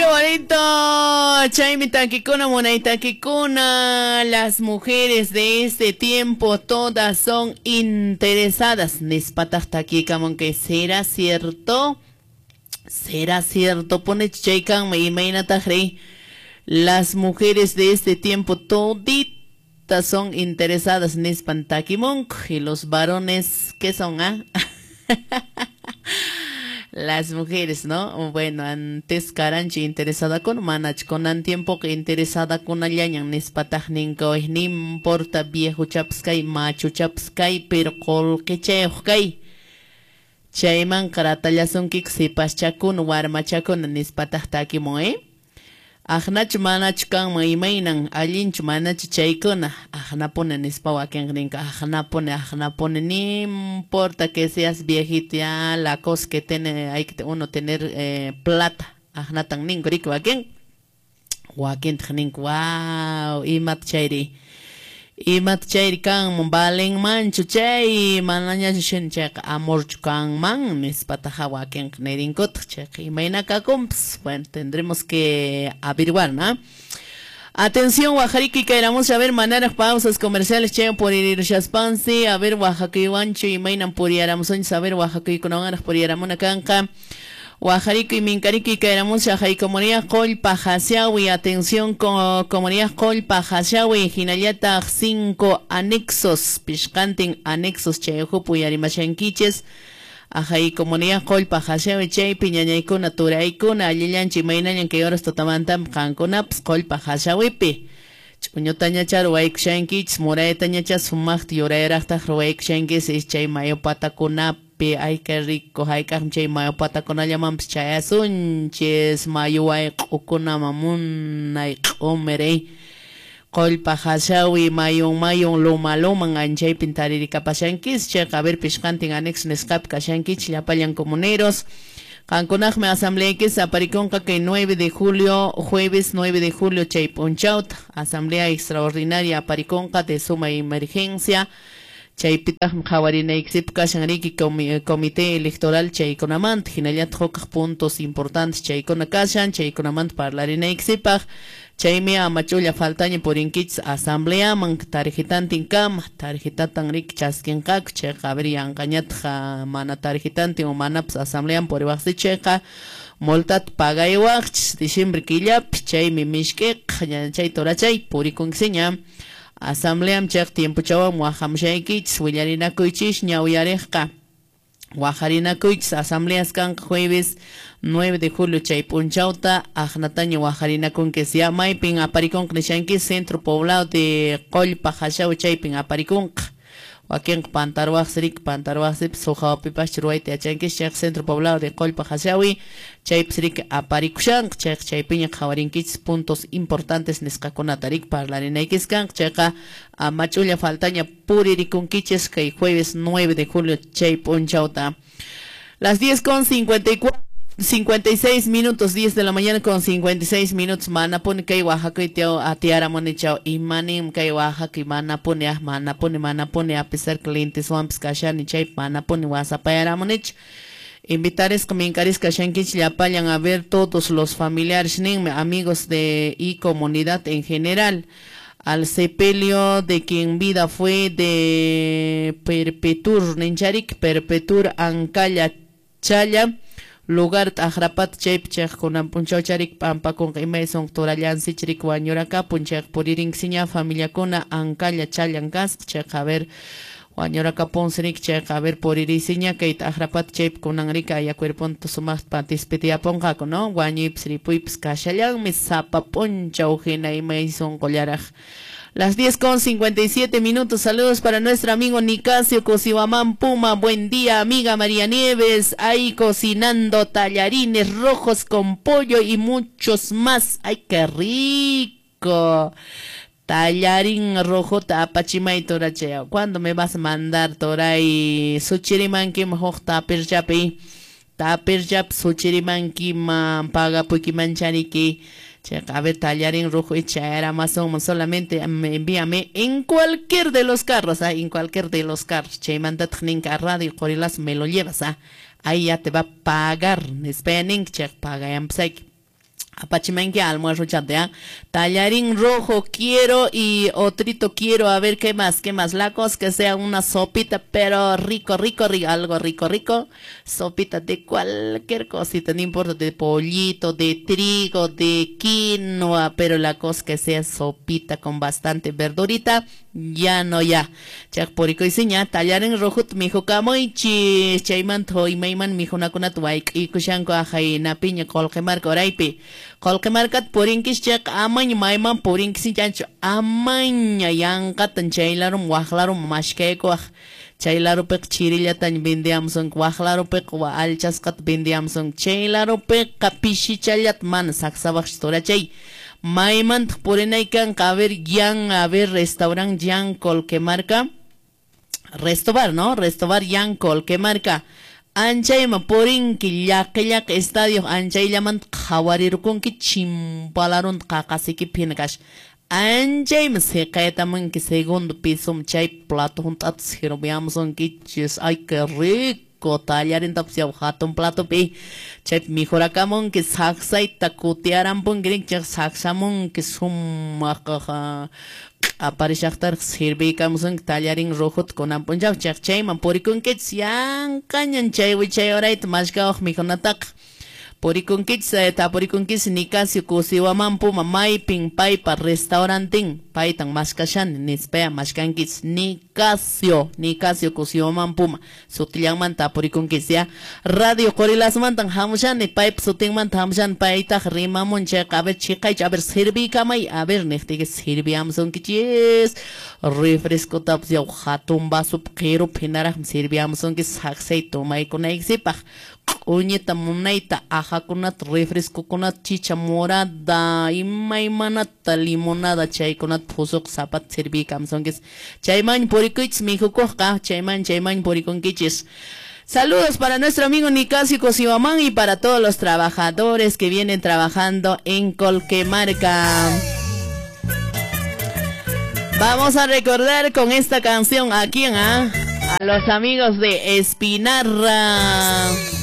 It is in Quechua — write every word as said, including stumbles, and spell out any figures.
¡Qué bonito! Chaymi takikuna, munay takikuna. Las mujeres de este tiempo todas son interesadas. Nispataq takikamun que ¿será cierto? ¿Será cierto? Pone chaykanman imaynataq rey. Las mujeres de este tiempo toditas son interesadas nispan takimunku. Y los varones, ¿qué son, ah? Las mujeres, ¿no? Bueno, antes karanchi interesada con manach con tiempo que interesada con allañan nispataq ninka ni importa viejo chapskay macho chapskay pero qullqichayuq kay chayman qaratallasunkiku sipaschakuna warmachakuna nispataq takimun, ¿eh? Aqnachu manachu kanman imaynan allinchu manachu chaykuna aqnapuni nispa wakinqa ninka aqnapuni aqnapuni ni importa que seas viejito ya la cosa que tiene hay que uno tener eh, plata aqnatan ninku riki wakin wakintaq ninku wow imata chayri imata chayri kanman valenmanchu chay manañachu shin chayqa amorchu kanman nispataqa wakinqa nirinkutaq chayqa imayna kakunpas. Bueno, tendremos que averiguar, ¿no? Atención, Oaxaca, queramos a ver manaraq pausas comerciales chay puririrshaspansi a ver Oaxaca imaynan puriyaramusunchis a ver Oaxacaykunawanraq puriyaramuna kanqa. Oaxaca y Minkariki queramos a comunidad Qollpa Hachawi, atención con comunidad Qollpa Hachawi, hinallataq cinco anexos, pishqantin anexos chay uhupi uyarimashankichis, ajay comunidad Qollpa Hachawi chaypi ñañaykuna turaykuna allillanchik imaynallan kay horas tutamantam qankunapas Qollpa Hachawipi ch'uñutañacha ruwaykushankichis muraytañacha sumaqta yurayraqtaq ruwaykushankichis chay mayu patakunapi. Ay, qué rico, hayk'aqmi chay mayu patakunallamanpas chayasunchis mayu wayq'ukunaman munay q'umir Qollpa Hachawi mayun mayun luma luman anchaypin taririkapashankis chayqa a ver pishqantin anexo nisqapi kashankichis llapallan comuneros. Qankunaqmi asambleaykis aparikunqa kay nueve de julio, jueves nueve de julio chay p'unchawta asamblea extraordinaria aparikunqa de suma emergencia. Chaypitaqmi qhawarinaykisipaq kashan riki comité electoral chaykunamanta hinallataq hukaq puntos importantes chaykuna kashan chaykunamanta parlarinaykisipaq chaymi ama ch'ulla faltaña purinkichis asambleaman tarjetantin kama tarjetatan riki chaskinqaku chayqa a ver yanqañataq mana tarjetantin o manapas asambleaman puriwaqsi chayqa multata pagaywaqchis diciembre killapi chaymi mishk'iqa chay turachay purikunkisiña. Asambleam chayqa tiempochawan waqhamushaykichis willarinakuychis ñawiyariqqa waqharinakuychis asambleas kanqa jueves nueve de julio chay p'unchawta aqnataña waqharinakunkis ya maypin aparikunqa nishankis centro poblado de Qollpa Hachawi chaypin aparikunqa wakinqa pantarwaqsi riki pantarwaqsipas huk hawapipas ruwayta yachankis chayqa centro poblado de Qollpa Hachawi chaypis riki aparikushanqa chayqa chaypiña qhawarinkichis puntos importantes nisqakunata riki parlarinaykis kanqa chayqa ama ch'ulla faltaña puririkunkichis kay jueves nueve de julio chay p'unchawta. Las diez con cincuenta y cuatro cincuenta y seis minutos, diez de la mañana con cincuenta y seis minutos, manapuni kay Oaxaca teo atiaramuni chao imanim kay Oaxaca manapuni ah manapuni manapuni a pesar clientes wampas kashani chay manapuni wasapayaramunich. Invitaresqa minkarisqa kashankichis llapallan a ver todos los familiares ninmi amigos de y comunidad en general al sepelio de quien vida fue de Perpetur nincharik Perpetur Ancalla Challa lugar t'aqrapat chaypi chayqa kunan p'unchaw charik p'ampakunqa imay sunqa turallansichik riki wañurakapun chayqa puririnksiña familiakuna Ancalla Challan kasqa chayqa a ver wañurakapunsi riki chayqa a ver puririsiña kay t'aqrapat chaypi kunan riki aya cuerponta sumaqta dispediyapunqaku no wañuypis ripuypis kashallanmi sapa p'unchaw hina imay sunqullaraq. Las diez con cincuenta y siete minutos. Saludos para nuestro amigo Nicasio Cosihuamán Puma. Buen día, amiga María Nieves. Ahí cocinando tallarines rojos con pollo y muchos más. ¡Ay, qué rico! Tallarín rojo tapachimay torachea. ¿Cuándo me vas a mandar toray? Suchirimankim huk tapirchapi. Tapirchap suchirimankiman pagapukimanchariki. A ver, tallarín rojo y chaer Amazon, solamente envíame en cualquier de los carros, ¿ah? En cualquier de los carros. Che, mandat ninka radio, corilas, me lo llevas, ¿ah? Ahí ya te va a pagar. Che, paga. Apachimanki almuerzo ya. Tallarín rojo quiero y otrito quiero. A ver, ¿qué más? ¿Qué más? La cosa que sea una sopita, pero rico, rico, rico, algo rico, rico. Sopita de cualquier cosita, no importa, de pollito, de trigo, de quinoa, pero la cosa que sea sopita con bastante verdurita, ya no ya. Chak puriko isiña, tallarín rojo mihukamuychis, chaymanta imayman mihunakunata wayk'ikushanku ahaynapiña Qolqemarka uraypi. Qolqemarkata purinkis chayqa amaña mayman purinkis amaña yanqatan chay larum waq larum mashkaykuwaq. Chay larupiqa chirillataña vendiamusunki, waq larupiqa allchasqata vendiamusunki, chay larupiqa pishichallata mana saksawaqchu turachay. Maymantaq purinay kanqa, a ver, yan, a ver, restaurant Yan Colquemarca. Restobar, ¿no? Restobar Yan Colquemarca. Anchayma purinki llaqi llaqi estadio anchayllamanta qhawarirqunki chimpalarunta qaqasiykipi hina kashan. Anchayma siqaytamunki segundo piso chay plato hunt'ata sirviamusunkichis. Ay, qué rico tallarintapas yaw hatun platopi. Chaypi mijurakamunki saksayta kutiarampunki rinki saksamunki sumaq aparishaqtaraq sirviykamusunki tallarín rojota kunan p'unchaw chayqa chayman purikunkichis yanqañan chay wichay urayta mashkawaq mikhunataqa. Purikunkichis tapurikunkichis Nicasio Cusihuamán Puma maypin paypa restaurantin paytan mashkashani nispaya mashkankichis Nicasio Nicasio Cusihuamán Puma sutillanmanta tapurikunkichis ya. Radio Qorilasmantan hamushani paypa sutinmanta hamushani paytaq rimamun chayqa a ver chiqaychu a ver sirviykamay a ver niqtiyki sirviamusunkichis refrescotapas yaw hatun vasopi qirupi hinaraqmi sirviamusunkichis saksay tomaykunaykisipaq. Q'uñita munayta ajakunata refrescokunata chicha morada imaymanata limonada chaykunata phusuq sapata sirviykamusunkichis. Chayman purikuychis mikhukuqqa chayman chayman purikunkichis. Saludos para nuestro amigo Nicasio Cusihuamán y para todos los trabajadores que vienen trabajando en Colquemarca. Vamos a recordar con esta canción a quién, ¿ah? A los amigos de Espinarra.